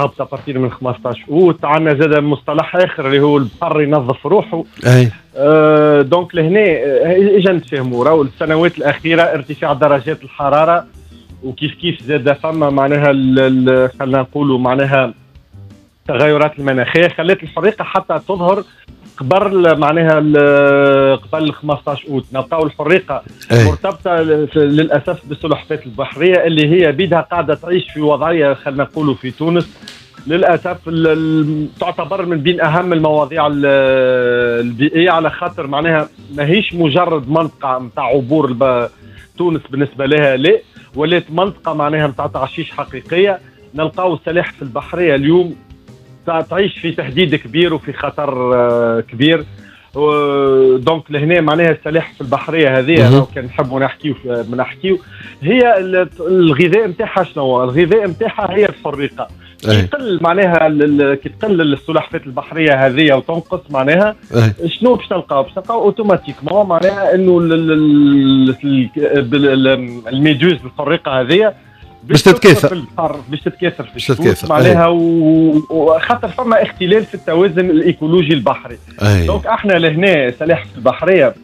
هابطة à partir من 15 اوت. عندنا زاد مصطلح اخر اللي هو البحر ينظف روحه. اي donc لهنا اجا نتفاهموا، راهو السنوات الاخيرة ارتفاع درجات الحرارة، وكيف كيف زاد فما معناها خلينا نقولوا معناها التغيرات المناخية خلت الحريقه حتى تظهر قبل معناها قبل 15 اوت. نلقاو الحريقه مرتبطة للاسف بالسلحفات البحرية اللي هي بيدها قاعدة تعيش في وضعية خلينا نقولوا في تونس للاسف تعتبر من بين اهم المواضيع البيئيه، على خاطر معناها ماهيش مجرد منطقة نتاع عبور تونس بالنسبة لها، لا، ولات منطقة معناها نتاع تعشيش حقيقيه. نلقاو السلاحف البحرية اليوم تعيش في تهديد كبير وفي خطر كبير. donc لهنا معناها السلاحف البحرية هذه لو كان نحبوا نحكيو هي الغذاء نتاعها شنو؟ الغذاء نتاعها هي الحريقه. كي تقل معناها كي تقل السلحفات البحرية هذه وتنقص معناها شنو باش تلقاو؟ باش تلقاو automatiquement معناها انه ال méduse الحريقه هذه باش تتكاثر في البحر، باش تتكاثر في الشطوط معناها، وخاطر فما اختلال في التوازن الايكولوجي البحري. donc احنا لهنا سلاحف البحرية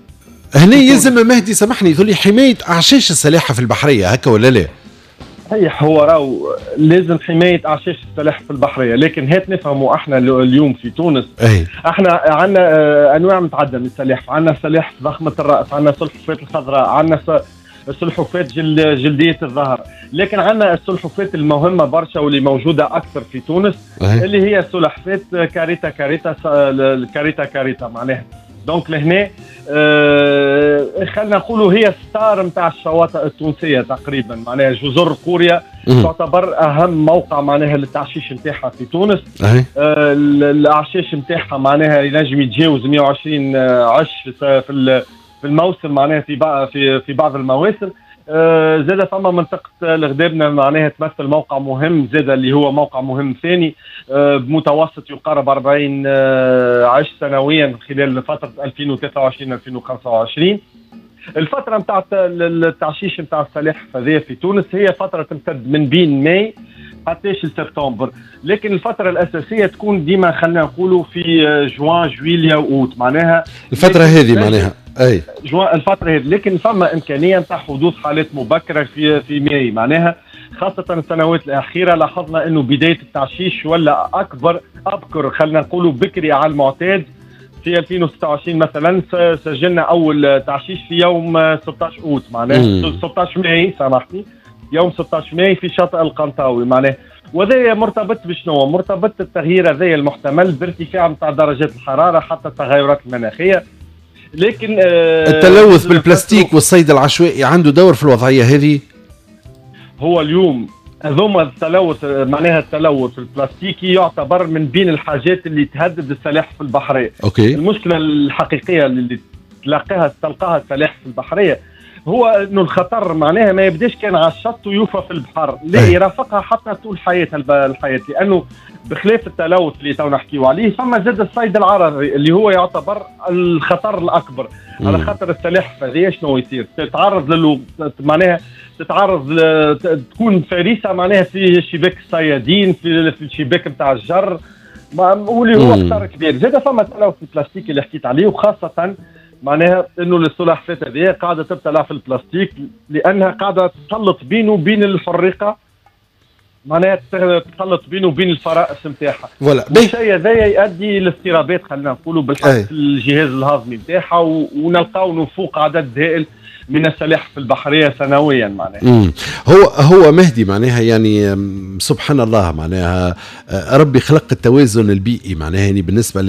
هنا يلزم مهدي سامحني يقول لي حماية اعشاش السلاحف البحرية هكا ولا لا؟ صحيح، هو راهو لازم حماية اعشاش السلاحف البحريه، لكن هات نفهموا احنا اليوم في تونس احنا عندنا انواع متعددة من السلاحف، عندنا سلاحف ضخمة الراس، عندنا سلحفاة الخضراء، عندنا سلحفاة جلدية الظهر، لكن عندنا السلحفاة المهمة برشا واللي موجودة اكثر في تونس اللي هي سلحفاة Caretta caretta caretta caretta معناها. donc لهنا خلينا نقولوا هي star نتاع الشواطئ التونسية تقريبا، معناها جزر قوريا تعتبر اهم موقع معناها للتعشيش نتاعها في تونس. الاعشاش نتاعها معناها ينجم يتجاوز 120 عش في الموسم، معناها في بعض المواسم. زاد فما منطقة الغدابنة معناها تمثل موقع مهم زاد اللي هو موقع مهم ثاني بمتوسط يقارب 40 عش سنويا خلال فترة 2023 2025. الفترة نتاع التعشيش نتاع السلاحف هذه في تونس هي فترة تمتد من بين ماي حتى سبتمبر، لكن الفترة الأساسية تكون ديما خلينا نقولوا في جوان جويليا وأوت معناها الفترة هذه معناها اي جوان الفترة هذه، لكن فما إمكانية نتاع حدوث حالات مبكرة في ماي معناها، خاصة السنوات الأخيرة لاحظنا أنه بداية التعشيش ولا أكبر أبكر خلينا نقولوا بكري على المعتاد. في 2026 مثلا سجلنا أول تعشيش في يوم 16 أوت معناها 16 ماي سامحني، يوم 16 ماي في شاطئ القنطاوي معناه. وهذا مرتبط بشنو؟ مرتبط التغيير هذا المحتمل بارتفاع نتاع درجات الحرارة حتى التغيرات المناخية. لكن التلوث بالبلاستيك والصيد العشوائي عنده دور في الوضعية هذه؟ هو اليوم هذوما التلوث معناها التلوث البلاستيكي يعتبر من بين الحاجات اللي تهدد السلاحف البحرية. okay. المشكلة الحقيقية اللي تلقاها السلاحف البحرية هو انه الخطر معناها ما يبداش كان على الشط ويوفى في البحر، لا يرافقها حتى طول حياتها الحياة، لانه بخلاف التلوث اللي تو نحكيو عليه فما زاد الصيد العرضي اللي هو يعتبر الخطر الاكبر. على خاطر السلاحف هذه شنو يصير؟ تتعرض معناها تتعرض تكون فريسة معناها في شباك الصيادين، في الشباك نتاع الجر، واللي هو خطر كبير. زاد فما التلوث البلاستيكي اللي حكيت عليه، وخاصة معناها انه السلحفاة هذه قاعدة تبتلع في البلاستيك لانها قاعدة تخلط بينه وبين الحريقه، معناها تخلط بينه وبين الفرائس نتاعها. voilà الشيء هذا يؤدي لاضطرابات خلينا نقولوا بالحق في الجهاز الهضمي نتاعها، ونلقاو نفوق عدد هائل من السلاحف البحرية سنويا معناها. هو مهدي معناها يعني سبحان الله معناها ربي خلق التوازن البيئي معناها يعني بالنسبة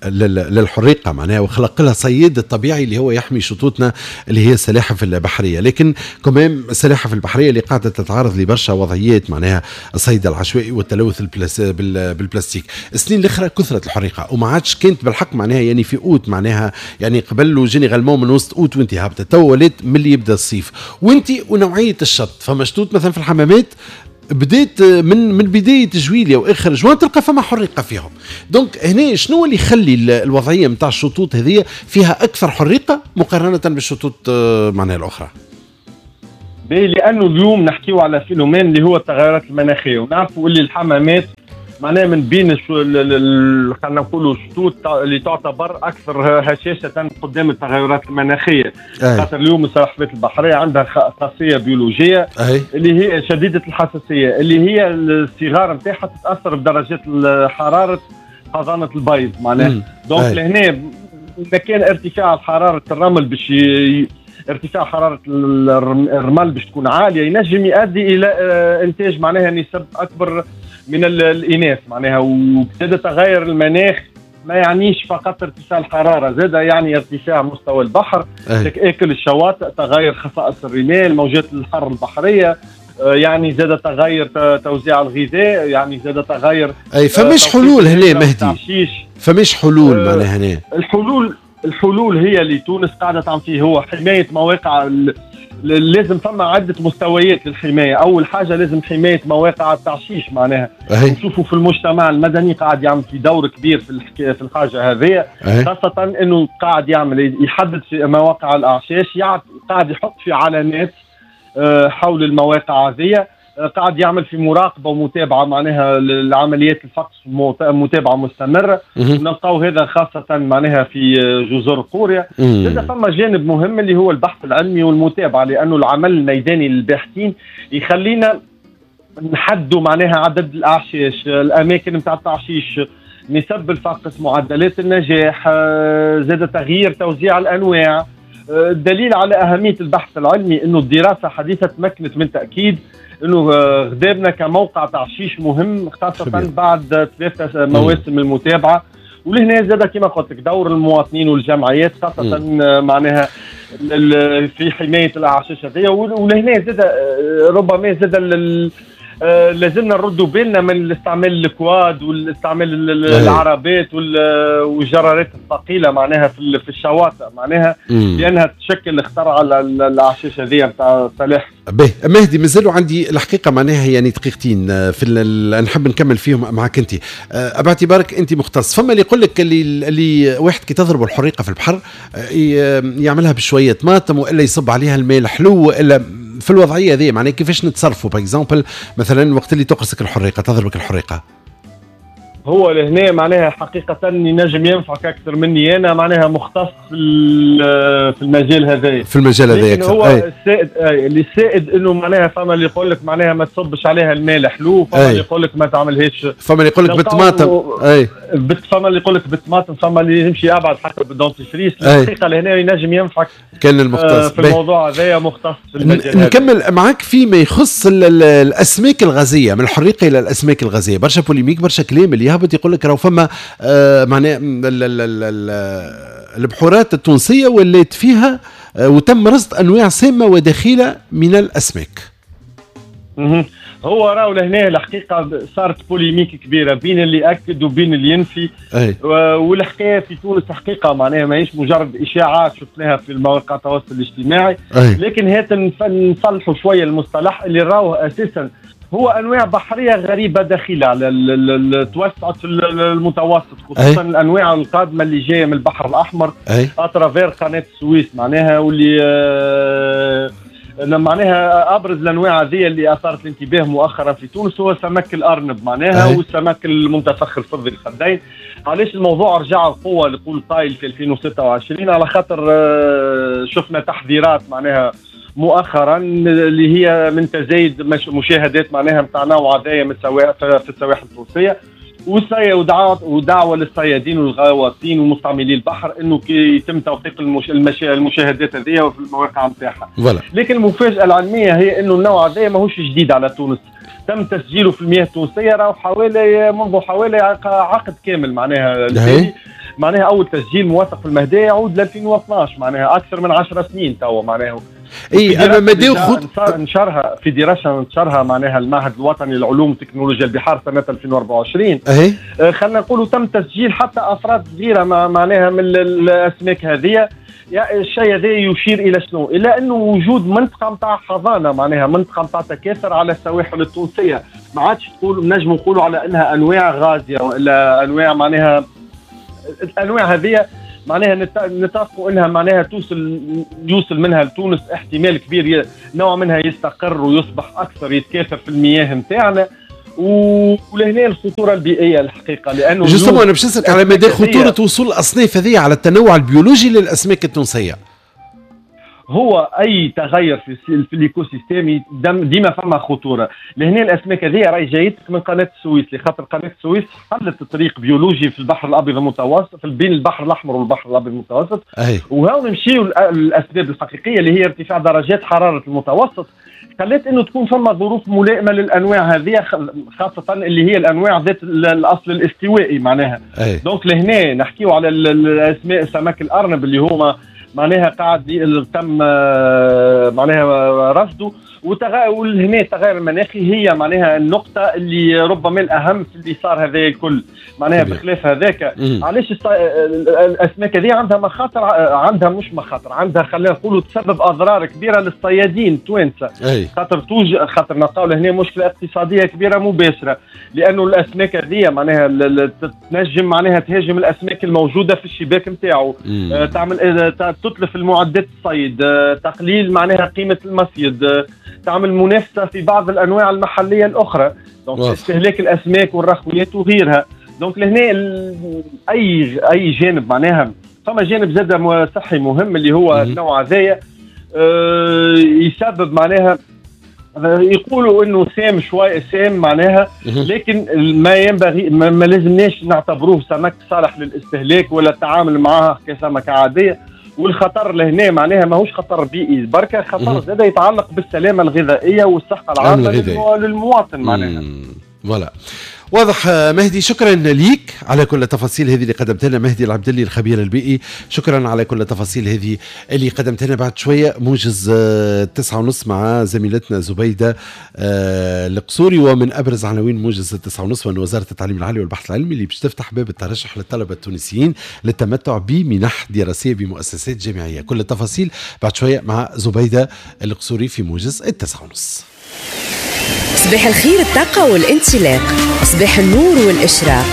للحريقه معناها، وخلق لها صياد الطبيعي اللي هو يحمي شطوطنا اللي هي السلاحف البحرية. لكن كمان السلاحف البحرية اللي قاعدة تتعرض لبرشا وضعيات معناها الصيد العشوائي والتلوث بالبلاستيك. السنين الاخرى كثرت الحريقه وما عادش كانت بالحق معناها يعني في اوت معناها يعني قبل généralement من وسط اوت وانت هابطة، تو ولات ملي يبدا الصيف وانت ونوعية الشط. فما شطوط مثلا في الحمامات بديت من بداية جويليا واخر جوان تلقى فما حريقة فيهم. donc هنا شنو اللي يخلي الوضعية نتاع الشطوط هذه فيها اكثر حريقة مقارنة بالشطوط معناها الاخرى؟ لانه اليوم نحكيو على phénomène اللي هو التغيرات المناخية، ونعرفوا اللي الحمامات معناها من بين خلينا نقولوا الشطوط اللي تعتبر اكثر هشاشة قدام التغيرات المناخية. خاطر اليوم السلحفاة البحرية عندها خاصية بيولوجية اللي هي شديدة الحساسية، اللي هي الصغار نتاعها تتاثر بدرجات حرارة حضانة البيض معناها. donc لهنا اذا كان ارتفاع حرارة الرمل باش ارتفاع حرارة الرمل باش تكون عالية ينجم يؤدي الى انتاج معناها نسب اكبر من الاناث معناها. وزاد تغير المناخ ما يعنيش فقط ارتفاع الحرارة، زاد يعني ارتفاع مستوى البحر، اكل الشواطئ، تغير خصائص الرمال، موجات الحر البحرية، يعني زاد تغير توزيع الغذاء، يعني زاد تغير. اي فماش حلول هنا مهدي؟ فماش حلول معناها هنا؟ الحلول هي اللي تونس قاعدة تعمل فيه هو حماية مواقع. لازم فما عده مستويات للحماية. اول حاجة لازم حماية مواقع التعشيش معناها. نشوفوا في المجتمع المدني قاعد يعمل في دور كبير في الحاجة هذه، خاصة انه قاعد يعمل يحدد في مواقع الاعشاش، قاعد يحط في علامات حول المواقع هذه، قاعد يعمل في مراقبة ومتابعة معناها لعمليات الفقس، متابعه مستمرة. نلقاو هذا خاصة معناها في جزر قوريا. هذا فما جانب مهم اللي هو البحث العلمي والمتابعة، لانه العمل الميداني للباحثين يخلينا نحدوا معناها عدد الاعشاش، الاماكن نتاع التعشيش، نسب الفقس، معدلات النجاح، زاد تغيير توزيع الانواع. الدليل على اهمية البحث العلمي انه الدراسة حديثه تمكنت من تاكيد انه غدابنا كموقع تعشيش مهم، خاصة بعد 3 مواسم المتابعة. ولهنا زاد كما قلت لك دور المواطنين والجمعيات خاصة معناها في حماية الاعشاش هذه. ولهنا زاد ربما زاد لازمنا نردوا بالنا من الاستعمال ال quad والاستعمال العربات والجرارات الثقيلة معناها في الشواطئ معناها، لانها تشكل خطر على الاعشاش هذه نتاع السلاحف. باهي مهدي، مازالوا عندي الحقيقة معناها يعني دقيقتين في نحب نكمل فيهم معك انت. باعتبارك انت مختص، فما اللي يقول لك اللي واحد كي تضرب الحريقه في البحر يعملها بشوية طماطم والا يصب عليها الماء الحلو، والا في الوضعية هذه معناها كيفاش نتصرفوا؟ par exemple مثلا وقت اللي تقرصك الحريقه، تضربك الحريقه. هو لهنا معناها حقيقة ينجم ينفعك أكثر مني أنا، معناها مختص في المجال هذايا. في المجال هذايا أكثر. هو السائد اللي السائد إنه معناها فما اللي يقول لك معناها ما تصبش عليها الماء الحلو، فما اللي يقول لك ما تعملهاش، فما اللي يقول لك بالطماطم، فما اللي يقول لك بالطماطم، فما اللي يمشي أبعد حتى بال dentifrice. الحقيقة لهنا ينجم ينفعك كان المختص في الموضوع هذايا، مختص في المجال. نكمل معك فيما يخص الأسماك الغازية، من الحريقة إلى الأسماك الغازية، برشا polémique، برشا كلام اللي يهبط يقول لك راهو فما معناها البحورات التونسية ولات فيها وتم رصد انواع سامة ودخيله من الاسماك. هو راهو لهنا الحقيقة صارت polémique كبيرة بين اللي اكد وبين اللي ينفي. والحكاية في تونس حقيقة معناها ماهيش مجرد اشاعات شفناها في مواقع التواصل الاجتماعي، لكن هات نصلحوا شوية المصطلح اللي راهو اساسا هو انواع بحرية غريبة دخيله على توسعت في المتوسط، خصوصا الانواع القادمة اللي جاية من البحر الاحمر à travers قناة السويس معناها، واللي معناها ابرز الانواع هذه اللي اثارت الانتباه مؤخرا في تونس هو سمك الارنب معناها، والسمك المنتفخ الفضي الخدين. علاش الموضوع رجع بقوة لقول طايل في 2026؟ على خاطر شفنا تحذيرات معناها مؤخرا اللي هي من تزايد مشاهدات معناها نتاع نوع هذايا من في السواحل التونسية، ودعوة للصيادين والغواصين ومستعملي البحر انه كي يتم توثيق المشاهدات هذه في المواقع نتاعها. لكن المفاجاة العلمية هي انه النوع هذايا ماهوش جديد على تونس، تم تسجيله في المياه التونسية راهو حوالي منذ حوالي عقد كامل معناها. معناها اول تسجيل موثق في المهدية يعود ل 2012 معناها اكثر من 10 سنين توا معناها. اي اما مديو نشرها في دراسة نشرها معناها المعهد الوطني للعلوم وتكنولوجيا البحار سنة 2024. خلينا نقولوا تم تسجيل حتى افراد صغيرة معناها من الاسماك هذه. الشيء هذا يشير الى شنو؟ الى انه وجود منطقة نتاع حضانة معناها منطقة نتاع تكاثر على السواحل التونسية، ما عادش تقول نجم نقولوا على انها انواع غازية والا انواع معناها الانواع هذه معناها نتفقوا انها معناها يوصل منها لتونس احتمال كبير نوع منها يستقر ويصبح اكثر يتكاثر في المياه نتاعنا. ولهنا الخطورة البيئية الحقيقة، لانه justement انا باش نسالك على مدى خطورة وصول الاصناف هذه على التنوع البيولوجي للاسماك التونسية. هو اي تغير في ال écosystème ديما فما خطورة. لهنا الاسماك هذه راهي جايتك من قناة السويس، لخاطر قناة السويس حلت طريق بيولوجي في البحر الابيض المتوسط، بين البحر الاحمر والبحر الابيض المتوسط. وهاو نمشيو الاسباب الحقيقية اللي هي ارتفاع درجات حرارة المتوسط خلت انه تكون فما ظروف ملائمه للانواع هذه، خاصة اللي هي الانواع ذات الاصل الاستوائي معناها. donc لهنا نحكيو على الاسماء سمك الارنب اللي هما معناها قاعد تم معناها رصده. ولهنا التغير المناخي هي معناها النقطة اللي ربما الأهم في اللي صار هذا الكل معناها. بخلاف هذاك علاش الأسماك هذه عندها مخاطر، عندها مش مخاطر، عندها خلينا نقولوا تسبب أضرار كبيرة للصيادين التوانسة، خاطر خاطر نلقاو لهنا مشكلة اقتصادية كبيرة مباشرة، لأنه الأسماك هذه معناها تنجم معناها تهاجم الأسماك الموجودة في الشباك نتاعو، تعمل تتلف المعدات الصيد، تقليل معناها قيمة المصيد، تعمل منافسه في بعض الانواع المحلية الاخرى، donc استهلاك الاسماك والرخويات وغيرها. donc لهنا اي جانب معناها فما جانب زاد صحي مهم اللي هو النوع هذايا يسبب معناها يقولوا انه سام شوي، سام معناها، لكن ما ينبغي ما لازمناش نعتبروه سمك صالح للاستهلاك ولا التعامل معاه كسمكه عادية. والخطر لهنا معناها ماهوش خطر بيئي بركة، خطر زاد يتعلق بالسلامة الغذائية والصحة العامة للمواطن معناها. voilà واضح مهدي، شكرا ليك على كل التفاصيل هذه اللي قدمت لنا. مهدي العبدلي الخبير البيئي، شكرا على كل التفاصيل هذه اللي قدمت لنا. بعد شوية موجز 9:30 مع زميلتنا زبيده القصوري، ومن ابرز عناوين موجز 9:30 وان وزارة التعليم العالي والبحث العلمي اللي باش تفتح باب الترشح للطلبة التونسيين للتمتع بمنح دراسية بمؤسسات جامعية. كل التفاصيل بعد شوية مع زبيده القصوري في موجز 9:30. صباح الخير، الطاقة والانطلاق، صباح النور والإشراق.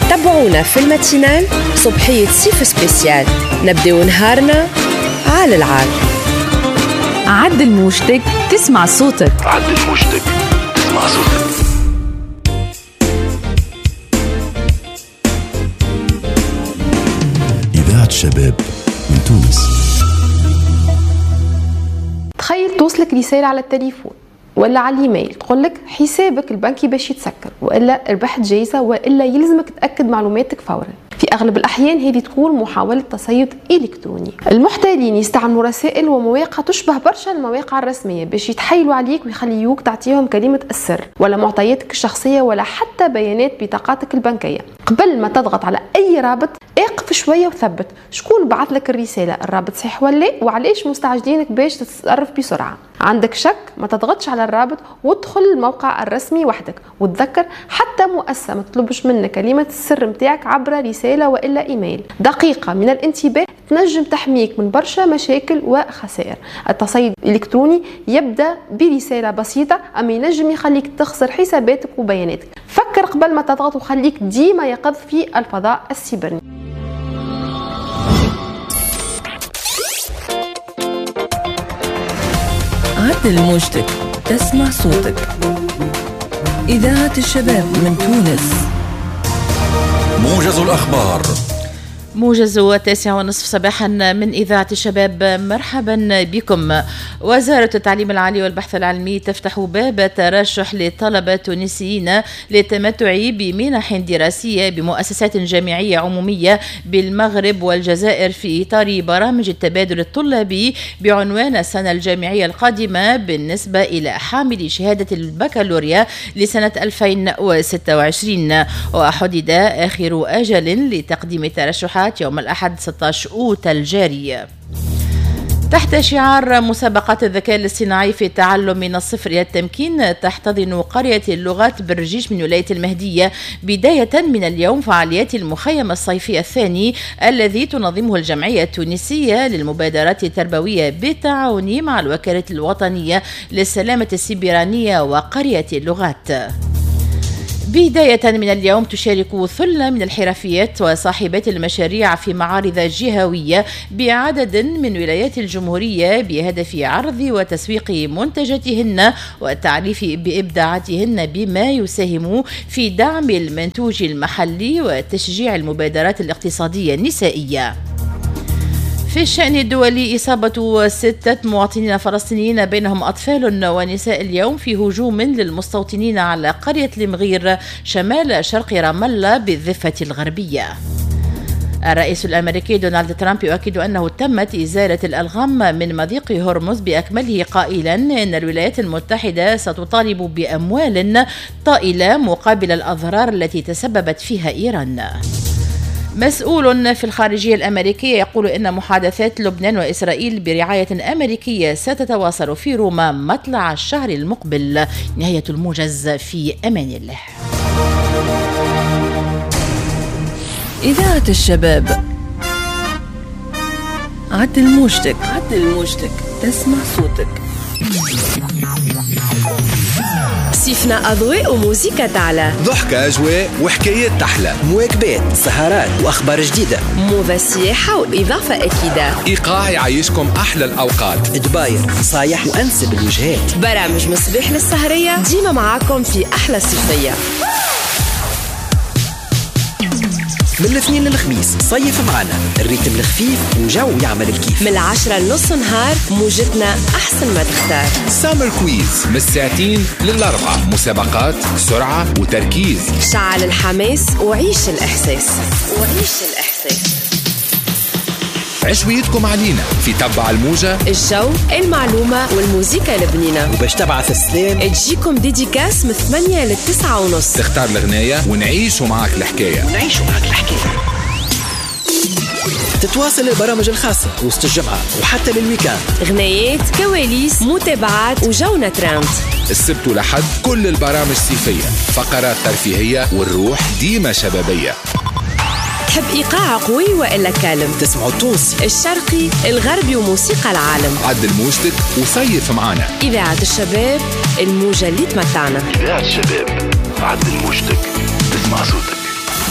تابعونا في ال matinale صبحية صيف spécial، نبداو نهارنا على العال. عدل موجتك تسمع صوتك، عدل موجتك تسمع صوتك. إذاعة الشباب من تونس. تخيل توصلك رسالة على التليفون ولا على الايميل تقول لك حسابك البنكي باش يتسكر، والا ربحت جائزة، والا يلزمك تاكد معلوماتك فورا. في اغلب الاحيان هذه تكون محاولة تصيد الكتروني. المحتالين يستعملوا رسائل ومواقع تشبه برشا المواقع الرسمية باش يتحايلوا عليك ويخليوك تعطيهم كلمة السر ولا معطياتك الشخصية ولا حتى بيانات بطاقاتك البنكية. قبل ما تضغط على اي رابط اقف شوية وثبت شكون بعث لك الرسالة، الرابط صحيح ولا لا، وعلاش مستعجلينك باش تتصرف بسرعة. عندك شك ما تضغطش على الرابط وادخل الموقع الرسمي وحدك، وتذكر حتى مؤسسة ما تطلبش منك كلمة السر متاعك عبر رسالة والا ايميل. دقيقة من الانتباه تنجم تحميك من برشا مشاكل وخسائر. التصيد الالكتروني يبدا برسالة بسيطة اما ينجم يخليك تخسر حساباتك وبياناتك. فكر قبل ما تضغط وخليك ديما يقظ في الفضاء السيبرني. عدل موجتك تسمع صوتك. إذاعة الشباب من تونس. موجز الأخبار. موجز 9:30 صباحا من إذاعة الشباب، مرحبا بكم. وزارة التعليم العالي والبحث العلمي تفتح باب ترشح للطلبة التونسيين للتمتع بمنح دراسية بمؤسسات جامعية عمومية بالمغرب والجزائر في إطار برامج التبادل الطلابي بعنوان السنة الجامعية القادمة بالنسبة إلى حامل شهادة البكالوريا لسنة 2026. وحدد آخر أجل لتقديم الترشحات يوم الأحد 16 أوت الجاري. تحت شعار مسابقات الذكاء الاصطناعي في التعلم من الصفر إلى التمكين، تحتضن قرية اللغات بالرجيش من ولاية المهدية بداية من اليوم فعاليات المخيم الصيفي الثاني الذي تنظمه الجمعية التونسية للمبادرات التربوية بالتعاون مع الوكالة الوطنية للسلامة السيبرانية وقرية اللغات. بداية من اليوم تشارك ثلة من الحرفيات وصاحبات المشاريع في معارض جهوية بعدد من ولايات الجمهورية بهدف عرض وتسويق منتجاتهن والتعريف بإبداعاتهن بما يساهم في دعم المنتوج المحلي وتشجيع المبادرات الاقتصادية النسائية. في الشأن الدولي، إصابة 6 مواطنين فلسطينيين بينهم أطفال ونساء اليوم في هجوم للمستوطنين على قرية المغير شمال شرق رام الله بالضفة الغربية. الرئيس الأمريكي دونالد ترامب يؤكد أنه تمت إزالة الألغام من مضيق هرمز بأكمله، قائلا إن الولايات المتحدة ستطالب بأموال طائلة مقابل الأضرار التي تسببت فيها إيران. مسؤول في الخارجية الأمريكية يقول إن محادثات لبنان وإسرائيل برعاية أمريكية ستتواصل في روما مطلع الشهر المقبل. نهاية الموجز، في أمان الله. إذاعة الشباب، عدل موجتك، عدل موجتك، تسمع صوتك. صيفنا أضواء وموسيقى تعلى، ضحكة أجواء وحكايات تحلى، مواكبات، سهرات وأخبار جديدة، موضة سياحة وإضافة أكيدة، إيقاع يعيشكم أحلى الأوقات، دباير نصايح وأنسب الوجهات، برامج مصباح للسهرية، ديما معاكم في أحلى صيفية. من الاثنين للخميس صيف معنا ال rythme الخفيف وجو يعمل الكيف، من 10 لنص نهار موجتنا أحسن ما تختار. summer quiz من 2:00 ل 4:00، مسابقات، سرعة وتركيز، شعل الحماس وعيش الإحساس، وعيش الإحساس. عشويتكم علينا في تبع الموجة، الجو، المعلومة والموسيقى البنينة. وباش تبعث السلام تجيكم dédicace من 8 ل 9:30، تختار الغناية ونعيشوا معاك الحكاية، ونعيشوا معاك الحكاية. تتواصل البرامج الخاصة وسط الجمعة وحتى لل week-end، غنايات، كواليس، متابعات وجونا ترند. السبت ولحد كل البرامج صيفية، فقرات ترفيهية والروح ديما شبابية. تحب إيقاع قوي وإلا calme؟ تسمعوا التونسي، الشرقي، الغربي وموسيقى العالم. عدل موجتك وصيف معانا. إذاعة الشباب، الموجة اللي تمتعنا. إذاعة الشباب، عدل موجتك، تسمع صوتك.